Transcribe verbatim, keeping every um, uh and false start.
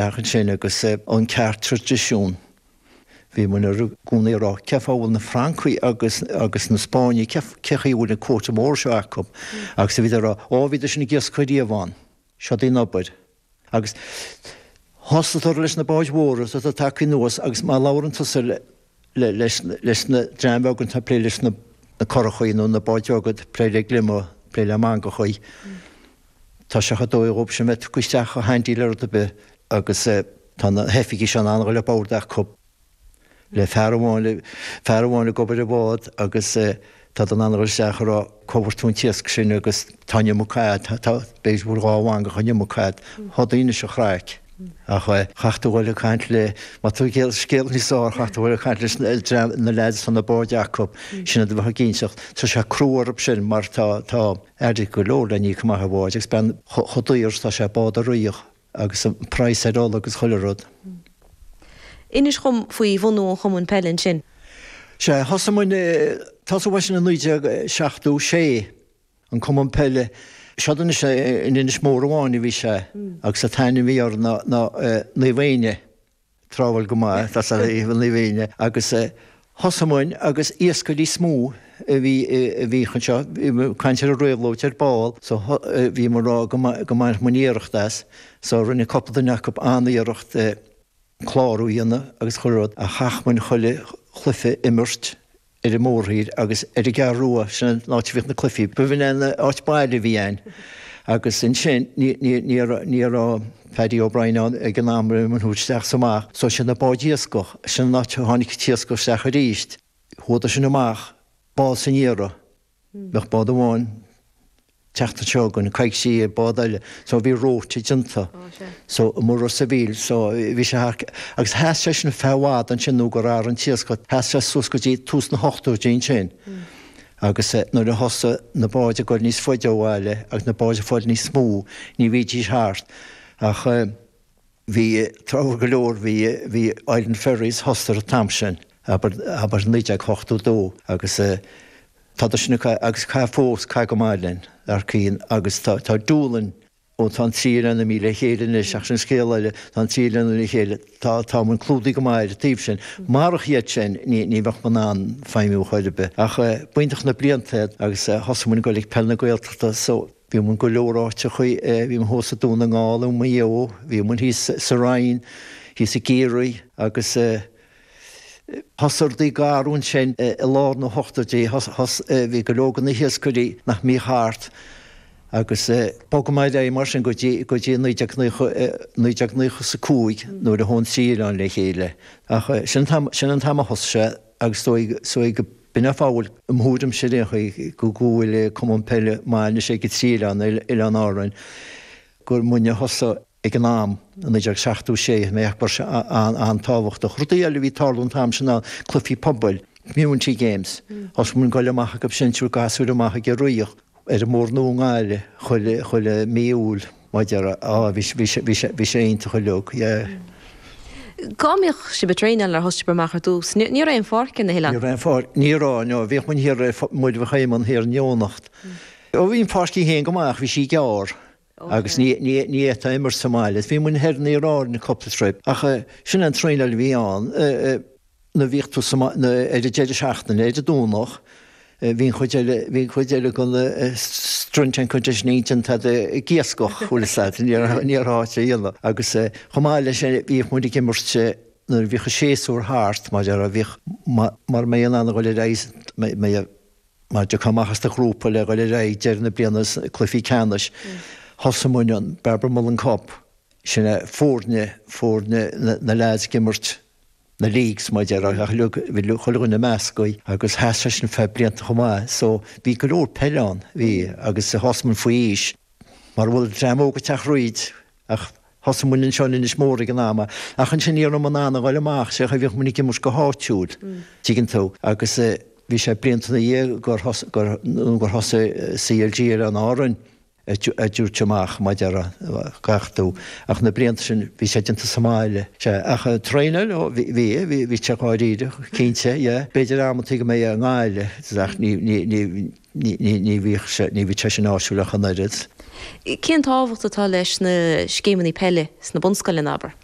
Ansin agus an ceart traidisiún. Bhí muid i gcónaí ag rá cén fáth a bhfuil na Francaigh agus agus na Spáinnigh cé chaoi a bhfuil an quota mór seo acu agus bhíodar ag rá ó bhíodar sin ag iascach riamh ann. Seo í an obair. Agus thosaíodar leis na báid mhóra atá tagtha anuas agus má labhrann tusa leis leis na dream beag atá ag plé leis na curachaí nó na báid bheaga ag plé le gliomaigh, plé le mangachaí. Tá sé chomh dóigh dhóibh sin bheith tugtha isteach chomh handy le rud ar bith agus tá na hoifigigh seo in ann a dhul ar bord acu le fear amháin le fear amháin ag obair i bhád agus tá in ann a dhul isteach a rá cá bhfuair tú an t-iasc sin agus tá an iomarca a'd tá b'fhéidir go bhfuil dhá mhangach an iomarca a'd tá daoine sa chraic. Ach chaithfeadh tú dhul ag caint le má tá scéal scéal níos fearr chaithfeadh tú dhul ag caint leis na na lads tá na báid acu sin iad a bheadh ag inseacht. Tá sé crua orthu sin mar tá tá airgead go leor le n-íoc amach ar bháid agus bean chomh daor is tá sé bád a ritheadh agus an praghas ar ola agus chuile rud. Inis dhom faoi bhunú an Chumainn Peile ansin. Sea, thosaigh muid, tosaíodh é sin i naoi déag seachtó sé, an Cumann Peile. Seod anois in Inis Mór amháin a bhí sé agus an t-ainm a bhí air ná Naomh Éinne, tráthúil go maith, tá Naomh Éinne agus thosaigh muid agus iascairí is mó a bhí a bhí anseo, bhí muid ag caint ar an réabhlóid ar ball so bhí muid ag rá go mbainfeadh muid iarracht as so rinne cúpla duine acu an-iarracht clárú a dhéanamh agus chuile rud ach chaith muid chuile chluiche a imirt ar an mórthír agus ar an gCeathrú Rua, sin an áit a bhíodh na cluichí. B'in an áit baile a bhí ann agus ansin ní ní ní ní raibh Paddy O'Brien ann ag an am a thabhairt isteach is amach so sin na báid iascach, sin an áit a tháinig an t-iascach isteach arís. Chuadar sin amach bád san iarraidh. Bheadh bád amháin teacht anseo againn, coicís bád eile, so bhí rota déanta, so i Ros a' Mhíl, so bhí sé thar, agus sheas sé sin feadh i bhfad ansin nó gur athraigh an t-iascach, sheas sé suas go dtí tús na hochtóidí ansin. Agus nuair a thosaigh na báid ag goil níos faide ó bhaile agus na báid ag fáil níos mó, ní bhídís thart ach bhí tráth go leor, bhí, bhí Island Ferries thosaigh an t-am sin, abair, abair naoi déag ochtó dó agus tá sin agus caith fós caith go maith linn Arcaín agus tá tá Doolin ó tá an trí oileán imithe le chéile anois ach sin scéal eile tá an trí oileán le chéile tá tá muid clúdaithe go maith ar an taobh sin. Marach iad sin ní ní bheadh muid in ann feidhmiú chor ar bith. Ach b'iontach na blianta iad agus thosaigh muid ag dul ag Peil na Gaeltachta so bhí muid go leor áiteachaí bhí muid thuas i Dún na nGall i Maigh Eo bhí muid thíos sa Rinn thíos i gCiarraí agus Thosaigh rudaí ag athrú ansin i lár na hochtóidí, bhí go leor de na hiascairí nach mbíodh thart agus bhog muid ar aghaidh mar sin go dtí go dtí naoi déag naoi déag naocha is a cúig nuair a chuaigh an trí oileán le chéile. Ach sin an t-am sin an t-am a thosaigh sé agus dóigh is dóigh go b'in an fáth a bhfuil, i mo thuairimse ar aon chaoi, go go bhfuil Cumann Peile maith anois ag an trí oileán, Oileáin Árann, gur muidne a thosaigh ag an am, i naoi déag seachtó sé, mé ag ceapadh an-tábhachtach. Rudaí eile a bhí ag tarlú an t-am sin ná cluichí pobail, community games. Thosaigh muid ag goil amach acu sin, triúr gasúir amach ag an Ríogh, ar an mBóthar Nua i nGaillimh, chuile, chuile mí Iúil, mar a déarfá. Á, bhí sé, bhí sé, bhí sé, bhí sé iontach uilig, yeah. Cá mbíodh sibh ag traenáil nuair a thosaigh sibh amach ar dtús? Ní raibh aon pháirc ar na hoileáin? Ní raibh aon pháirc, ní raibh, no. Bhíodh muid thiar ar Muir Mhic Éamoinn thiar in Eoghanacht. Ó bhí an pháirc í féin go maith ach bhí sí gearr. Agus ní fhéadfá imirt sa mbaile. Bhí muid thoir in Iarr Árainn cúpla trip ach sin an traenáil a bhí ann nuair a bhíodh tú ar an deireadh seachtaine, ar an Domhnach, bhí an chuid eile, bhí an chuid eile den strength and conditioning déanta ag iascach, bhfuil fhios agat, ní raibh ní raibh áit a dhéanamh. Agus chomh maith leis sin bhíodh muid ag imirt nuair a bhíodh an séasúr thart, mar a déarfá, bhíodh, mura mbeidh in ann a dhul ar aghaidh, mbeidh, Má thiocfá amach as do ghrúpa le dhul ar aghaidh deireadh na bliana sna cluichí ceannais, thosaigh muid an Barbara Mullen Cup, sin é foirne, foirne na leaids ag imirt na leagues mar a déarfá ach uilig, bhí chuile dhuine measctha agus sheas sé sin feadh blianta chomh maith so bhí go leor peile ann, bhí agus thosaigh muid faoi aois mar a bhfuil dream óg ag teacht thríd Ach thosaigh muid anseo in Inis Mór ag an am, ach ansin ní raibh muid in ann a ghoil amach, sé bhíodh muid ag imirt go háitiúil, tuigeann tú, agus bhí sé blianta ina dhiaidh gur gur nó gur thosaigh CLG Oileáin Árann a dtabhairt amach, mar a déarfá, gach tú, ach na blianta sin bhí sé déanta sa mbaile, sea, ach traenáil, ó bhí, bhí, bhí sé dháiríre, cinnte, yeah, b'fhéidir amantaí go mbeidh i nGaillimh, ach ní, ní, ní, Ní, ní, ní bhíodh sé, ní bhíodh sé sin áisiúil ach an oiread. Cén tábhacht atá leis na scéimeanna peile sna bunscoileanna, abair?